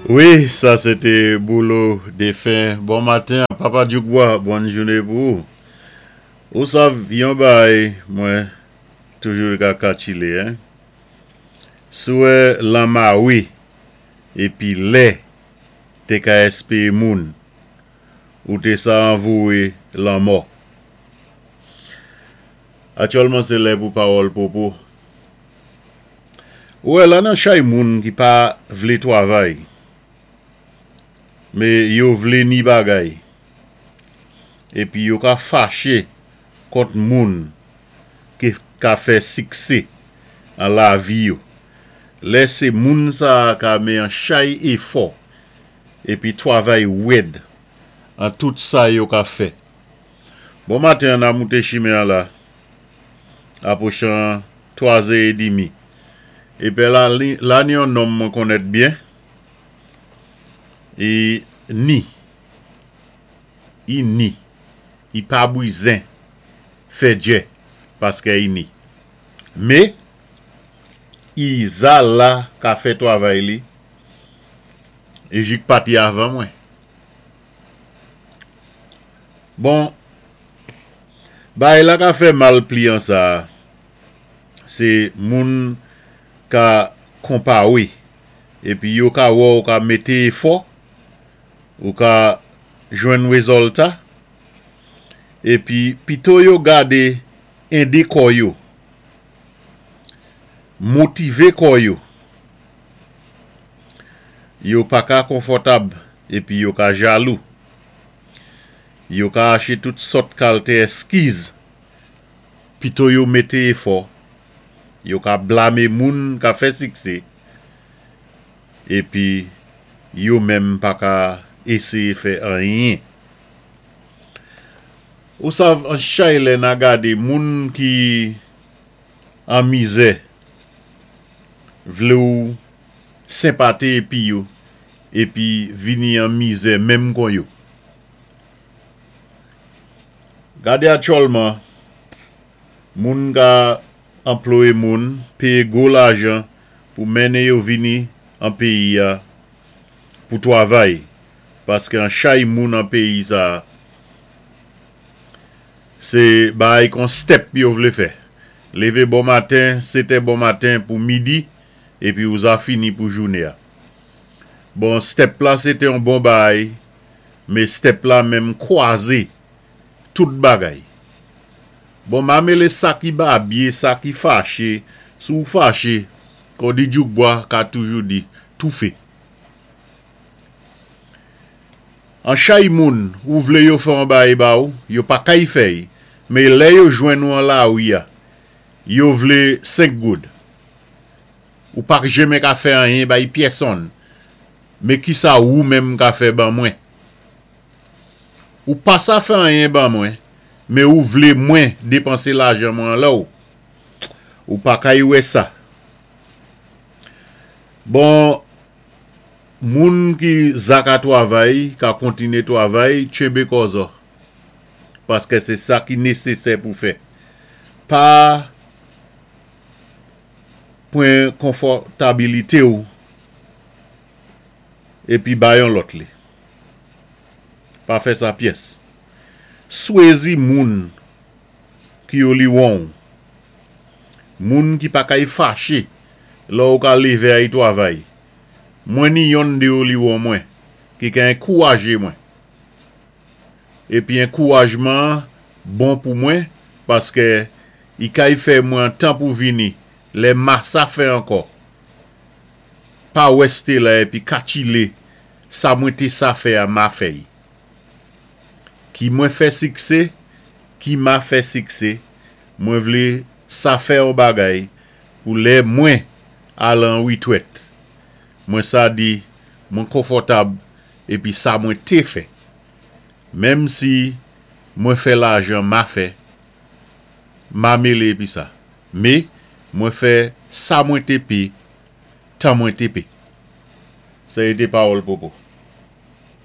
Wi, sa sé té Boulo défen. Bon maten Papa Dyoukbwa, bòn jouné pou ou. Ou sav yon baay mwen toujou ka katchilé hein. Si w wè lanmawe épi lè té ka èspéyé moun, ou té sa anvouwé lanmò. Aktyèlman sé lè pou pawòl popo. Ou wè la nan chay moun ki pa vlé twavay, mé yo vlé ni bagay. Épi yo ka faché kont moun ki ka fè siksé an lavi yo. Lè sé moun sa a ka mé an chay éfò épi twavay wèd an tout sa yo ka fè. Bon maten an na moute chimen an la apwochan 3 zè edimi. Epè la la ni yon nonm mwen konnèt byen i ni i ni i pa bwizen fè djè paskè i ni. Me i za la ka fè twavay li e jik pati avan mwen. Bon, bagay la ka fè mal pliyan sa a, se moun ka konpawe epi yo ka wè w ka mete efò, ou ka jwenn rezòlta, epi pito yo gade ede kò yo, motive kò yo, yo pa ka konfòtab epi yo ka jalou. Yo ka ache tout sòt kalte èskiz pito yo mete efò. Yo ka blame moun ka fè sikse epi yo menm pa ka eseye fè anyen. Ou sav an chay lè na gade moun ki an mizè vle w senpate epi yo epi vini an mizè menm kon yo. Gade aktyòlman, moun ka anploye moun, peye gwo lajan pou mennen yo vini an peyi a pou twavay, paske an chay moun an peyi sa a, se baay kon step yo vle fè. Leve bon maten, setè bon maten pou midi, epi ou za fini pou joune a. Bon step la se te yon bon baay me step la menm kwaze tout bagay. Bon ma mele sa ki babye sa ki fache si w fache kon di djoukbwa ka toujou di toufe. An chay moun ou vle yo fè yon baay ba ou yo pa kay fè y me lè yo jwenn ou an lari a yo vle 5 goud. Ou pa k jeme ka fè anyen bay pyèsonn, men kisa wou menm ka fè ban mwen? Ou pa sa fè anyen ban mwen, men ou vle mwen depanse lajan mwen an lè w. Ou pa kay wè sa. Bon, moun ki za ka twavay, ka kontine twavay, tchenbe kò zò. Paske se sa ki nesesè pou fè. Pa. Pran konfòtabilite w epi bay yon lòt li. Pa fè sa pyès. Swezi moun ki yo liwon w. Moun ki pa kay fache lè w ka leve ay twavay. Mwen ni yonn de yo liwon mwen ki ka enkouraje mwen. Epi enkourajman an bon pou mwen paske i kay fè mwen tan pou vini lè masa fè ankò pa wè Stella epi katchile sa mwen te sa fè a ma fè y ki mwen fè sikse ki ma fè sikse mwen vle sa fè on bagay pou lè mwen al an retwèt mwen sa di mwen konfòtab epi sa mwen te fè menm si mwen fè lajan ma fè ma mele epi sa me mwen fè sa mwen te pe tan mwen te pe. Sa e te pawòl popo.